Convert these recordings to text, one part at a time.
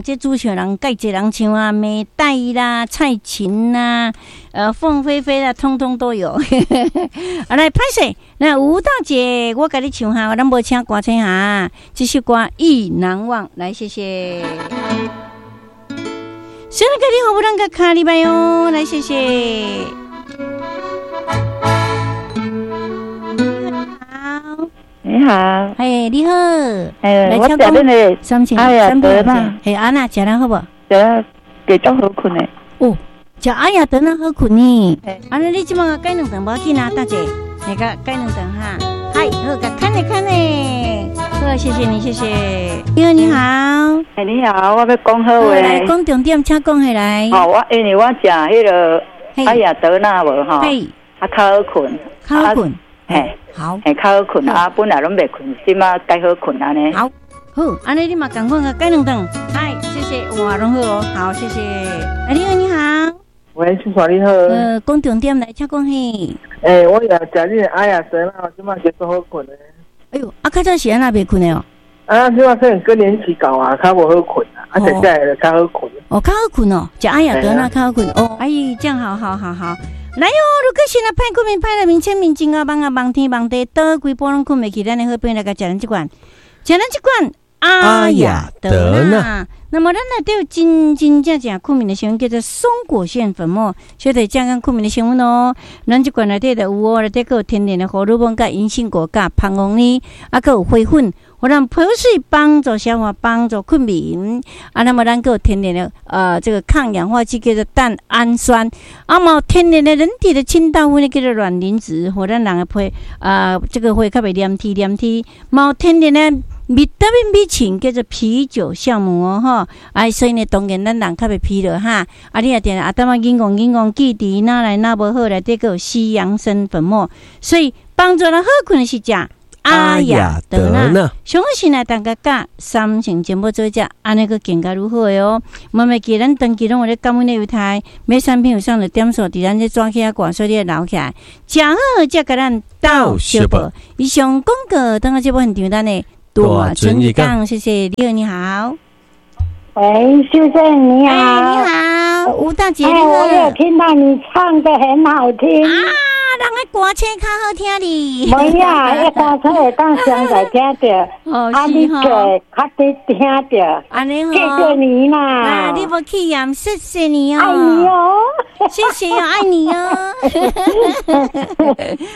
人這主唱人蓋濟人唱啊，美黛啦、蔡琴啦、鳳飛飛啦，通通都有。啊，來歹勢，那吳大姐，我共你唱哈，咱無請歌星哈，這首歌《意難忘》，來謝謝。小哥你好，不啷個卡禮拜哦，來謝謝。好，你好，嘿，你好，哎，我食恁的三千，阿雅德納，嘿，按怎食了好無？食了會足好睏的。哦，食阿雅德納好睏呢。按呢你這擺改兩頓無要緊啊，大姐，來個改兩頓哈。嗨，好，共看咧看咧，好，謝謝你，謝謝。你好，你好。哎，你好，我欲講好話。來講重點，請講起來。哦，我因為我食彼个阿雅德納無吼，啊較好睏，較好睏，嘿，好，嘿，較好睏啊，本來攏袂睏，這擺較好睏按呢。好，好，按呢你嘛仝款共改兩頓。嗨，謝謝，哇，攏好哦，好，謝謝。哎，你好，你好。喂，秀華你好。講重點來，請講嘿。欸，我也食你阿雅德納，這擺就足好睏的。哎喲，啊，較早是按怎袂睏的哦？啊，這擺可能更年期到啊，較無好睏啊，啊，食起來就較好睏。哦，較好睏哦，食阿雅德納較好睏哦。哎，這樣好好好好。來喲，如果是若歹困眠、歹來眠、淺眠、真𠢕夢啊，夢天夢地，倒規晡攏睏袂去，咱的好朋友來共食咱這罐，食咱這罐阿雅德納。那麼咱內底有真真正正睏眠的成分，叫做松果腺粉末，小弟正講睏眠的成分哦。咱這罐內底就有哦，內底閣有天然的荷爾蒙、佮銀杏果、佮蜂王呢，啊，閣有花粉，予咱皮膚幫助消化、幫助睏眠。啊，那麼咱閣有天然的這個抗氧化劑叫做蛋氨酸，啊，嘛有天然的人體的清道夫呢，叫做卵磷脂，予咱人的皮啊，這個會較袂黏貼黏貼。嘛有天然的維他命 B 群叫做啤酒酵母哦，吼，啊，所以呢，當然咱人較袂疲勞哈。啊，你若定啊，淡仔緊戇緊戇記憶哪來哪無好，內底閣有西洋參粉末，所以幫助咱好睏的是食阿雅德納。上好是來大家佮三星節目做食，按呢閣更加愈好的哦。嘛袂記咱長期攏有咧感恩的猶太，買產品有送的點數，佇咱這紙起仔掛，所以你愛留起來。食好才共咱鬥相報。以上廣告，等下節目現場咱的大春日講，謝謝你好，你好。喂，秀珍你好。哎，你好，吳大姐你好。我有聽到你唱得很好聽。啊，人的歌聲較好聽哩。無呀，彼歌聲會當上來聽著，啊，你個較得聽著。按呢吼。謝謝你啦。啊，你無去嫌，謝謝你哦。愛你哦。謝謝哦，愛你哦。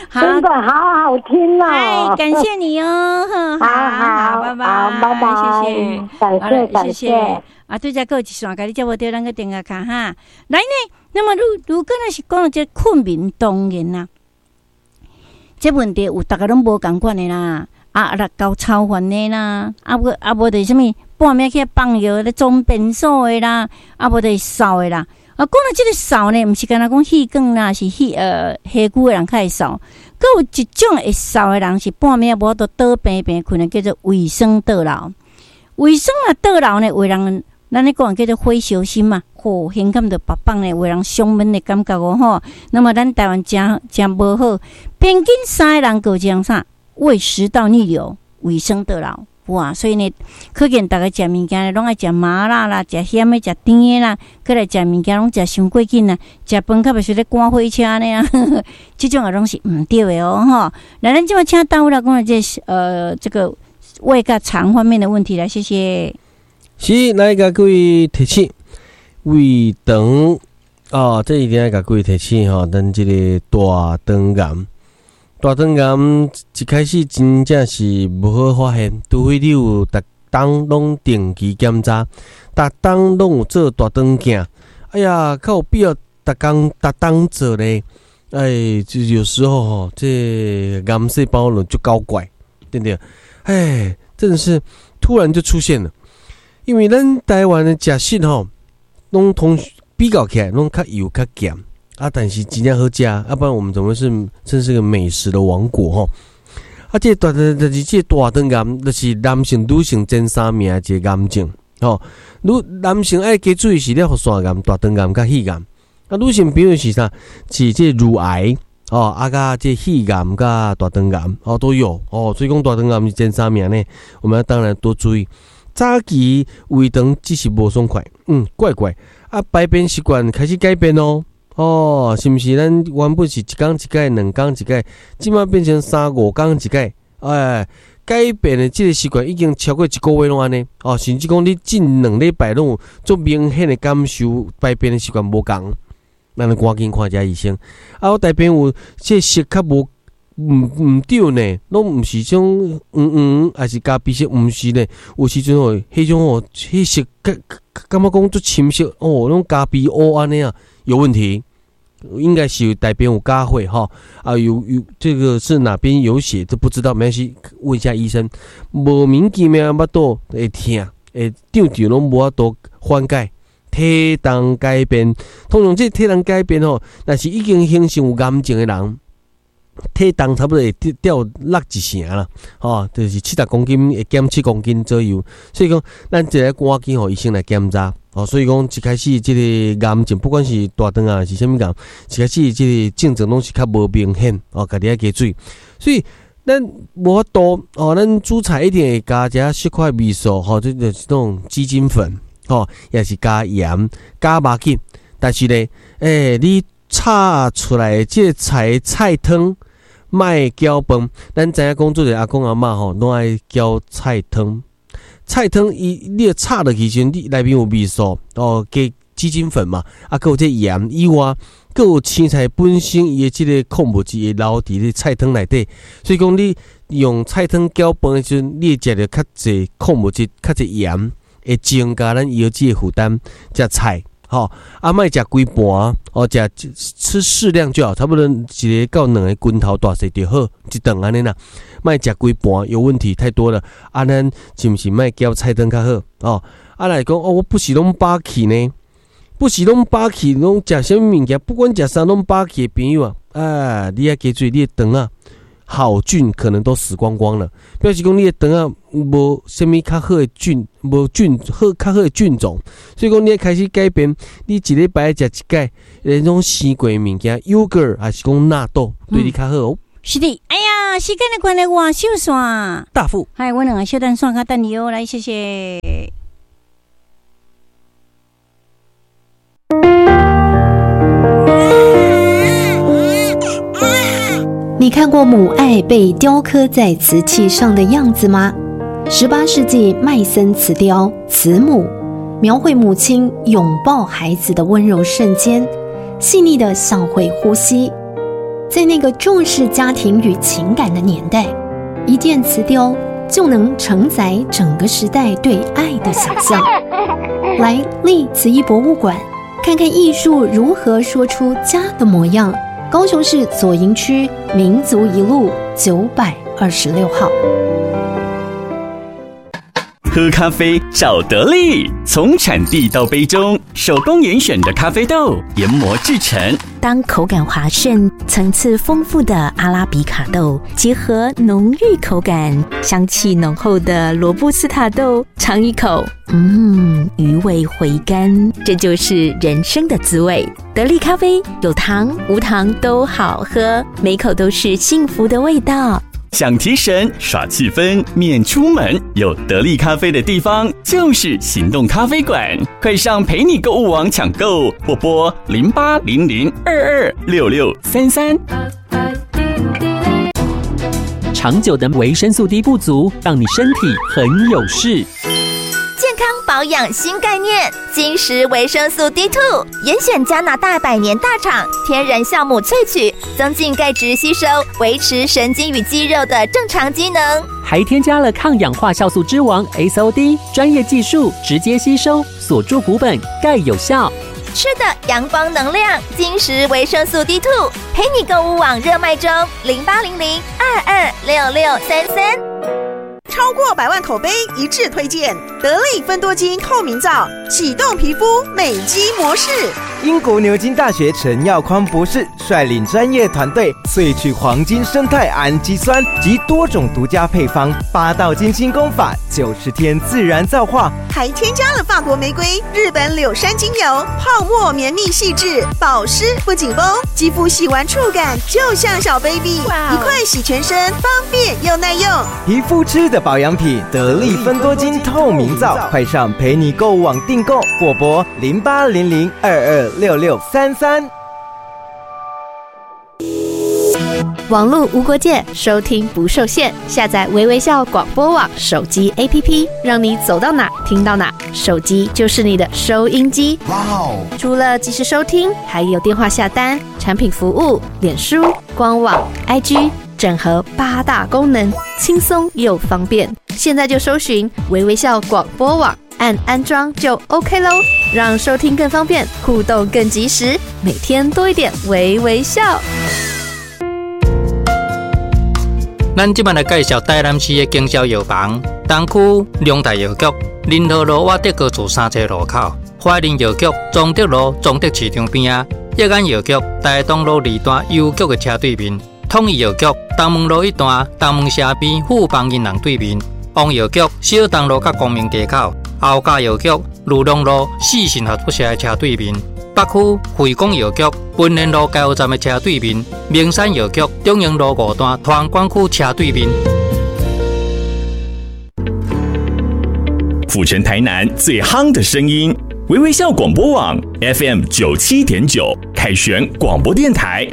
好，真的好好聽哦。哎，感謝你哦。好好，拜拜，拜拜，謝謝，感謝感謝。啊，對這閣有一線，共你接無著，咱閣電話卡哈。來呢，那麼如果若是講到這睏眠，當然啦，這問題有逐个攏無仝款的啦。啊，啊，交炒飯的啦，啊無啊無就是啥物半暝起來放尿咧裝便所的啦，啊無就是掃的啦。啊，講到這个掃呢，毋是干焦講戲管啦，是戲下久的人較會掃。閣有一種會掃的人是半暝無法度倒平平睏的，叫做胃酸倒流。胃酸若倒流呢，有的人咱咧講叫做火燒心嘛，吼，胸坎就爆放咧，有的人胸悶的感覺哦吼。那麼咱台灣誠誠無好，平均三个人閣有一人啥胃食道逆流、胃酸倒流，哇！所以呢，可見逐家食物件攏愛食麻辣啦，食鹹的、食甜的啦，閣來食物件攏食傷過緊啦，食飯較袂輸咧趕火車按呢啊，這種也攏是毋對的哦吼。來，咱這擺請大夫來講這個胃佮腸方面的問題來，謝謝。是，來共各位提醒胃腸哦，這一定愛共各位提醒吼，咱這個大腸癌，大腸癌一開始真正是無好發現，除非你有逐冬攏定期檢查，逐冬攏有做大腸鏡。哎呀，較有必要逐工逐冬做咧。哎，就有時候吼，這癌細胞就足搞怪，對不對？哎，真的是突然就出現了。因為咱台灣的食食吼，攏通比較起來攏較油較鹹啊，但是真正好食，啊，不然我們怎麼是真是個美食的王國吼？啊，這個大就是這個大腸癌，就是男性、女性前三名的一個癌症吼。女男性愛加注意是咧，腺癌、大腸癌佮肺癌。啊，女性朋友是啥？是這乳癌哦，啊，佮這肺癌佮大腸癌哦都有哦。所以講大腸癌是前三名呢，我們要當然多注意。早期胃肠只是无爽快，怪怪啊，排便习惯开始改变咯。哦，是毋是咱原本是一工一摆、两工一摆，这马变成三五工一摆，哎，改变的这个习惯已经超过一个月拢按呢。哦，甚至讲你近2礼拜拢有足明显的感受排便的习惯无仝，咱就赶紧看一下医生。啊，我大便有这色较无毋对呢，拢毋是种黄黄，还是咖啡色，毋是呢。有时阵吼，彼种吼，彼色感感觉讲足深色哦，拢咖啡乌按呢啊，有问题，应该是大便有加血吼啊，有这个是哪边有血都不知道，没关系，问一下医生。莫名其妙腹肚会疼，会胀胀拢无法度缓解。体重改变，通常这体重改变吼，若是已经形成有癌症的人，体重差不多会掉落一成啦，吼，就是70公斤会减7公斤左右。所以讲，咱这个赶紧予医生来检查，哦，所以讲一开始这个癌症，不管是大肠癌是啥物癌，一开始这个症状拢是较无明显，哦，家己爱加注意。所以咱无法度哦，咱煮菜一定会加一小块味素，吼，这就是那种鸡精粉，吼，也是加盐、加肉紧。但是呢，你炒出来的这个菜菜汤。莫搅饭，咱知影讲做者阿公阿嬷吼，拢爱搅菜汤。菜汤伊你炒落去时阵，你内面有味素哦，加鸡精粉嘛，啊，阁有这盐以外，阁有青菜本身伊的这个矿物质会留伫咧菜汤内底，所以讲你用菜汤搅饭的时阵，你会食著较济矿物质、较济盐，会增加咱腰子的负担。食菜。吼，啊，莫食规盘，哦，食吃适量就好，差不多一个到两个拳头大细就好，一顿按呢啦。莫食规盘有问题太多了。啊，咱是毋是莫搅菜汤较好？哦，啊来讲哦，我不是拢饱气呢，不是拢饱气，拢食啥物物件，不管食啥拢饱气的朋友啊，啊，你爱加注意你的肠啊，好菌可能都死光光了，表示讲你的肠啊无啥物较好的菌，无菌好较好的菌种，所以讲你爱开始改变，你一礼拜食一摆那种生过的物件，yogurt 还是讲纳豆，对你较好哦。是的，哎呀，时间的关系，我收线。大富，嗨，我两个小等线较等你哦，来，谢谢。你看过母爱被雕刻在瓷器上的样子吗？18世纪麦森瓷雕《慈母》，描绘母亲拥抱孩子的温柔瞬间，细腻的像会呼吸。在那个重视家庭与情感的年代，一件瓷雕就能承载整个时代对爱的想象。来立瓷艺博物馆，看看艺术如何说出家的模样。高雄市左营区民族一路926号。喝咖啡找得力，从产地到杯中，手工严选的咖啡豆研磨制成。当口感滑顺、层次丰富的阿拉比卡豆结合浓郁口感、香气浓厚的罗布斯塔豆，尝一口，余味回甘，这就是人生的滋味。得力咖啡有糖无糖都好喝，每口都是幸福的味道。想提神、耍气氛、免出门，有得力咖啡的地方就是行动咖啡馆。快上陪你购物网抢购，或拨0800226633。长久的维生素 D 不足，让你身体很有事。健康保养新概念，金石维生素 D2，严选加拿大百年大厂天然酵母萃取，增进钙质吸收，维持神经与肌肉的正常机能，还添加了抗氧化酵素之王 SOD，专业技术直接吸收，锁住骨本，钙有效。吃的阳光能量，金石维生素 D2，陪你购物网热卖中，0800226633。超过100万口碑一致推荐，得力芬多精透明皂，启动皮肤美肌模式。英国牛津大学陈耀宽博士率领专业团队萃取黄金胜肽氨基酸及多种独家配方，八道金星功法，90天自然造化，还添加了法国玫瑰、日本柳杉精油，泡沫绵密细致，保湿不紧绷，肌肤洗完触感就像小 baby，一块洗全身，方便又耐用。皮肤吃的保养品，得力芬多精透明皂，快上陪你购物网订购，或拨0800226633。网路无国界，收听不受限。下载微微笑广播网手机 APP，让你走到哪听到哪。手机就是你的收音机。哇哦！除了即时收听，还有电话下单、产品服务、脸书、官网、IG，整合8大功能，轻松又方便。现在就搜寻微微笑广播网，按安装就 OK 喽，让收听更方便，互动更及时，每天多一点微微笑。咱这摆来介绍台南市的经销药房，东区龙泰药局、仁和路瓦德高厝3层路口，怀仁药局中德路中德市场边仔，益安药局台东路2段邮局的车对面，统一药局东门路1段东门社边富邦银行对面，王药局小东路佮光明街口，后家药局鲁龙路四信合作社的车对面，北区惠广药局文贤路加油站的车对面，明山药局中营路5段团管区车对面。府城台南最夯的声音，微微笑广播网 FM 97.9，凯旋广播电台。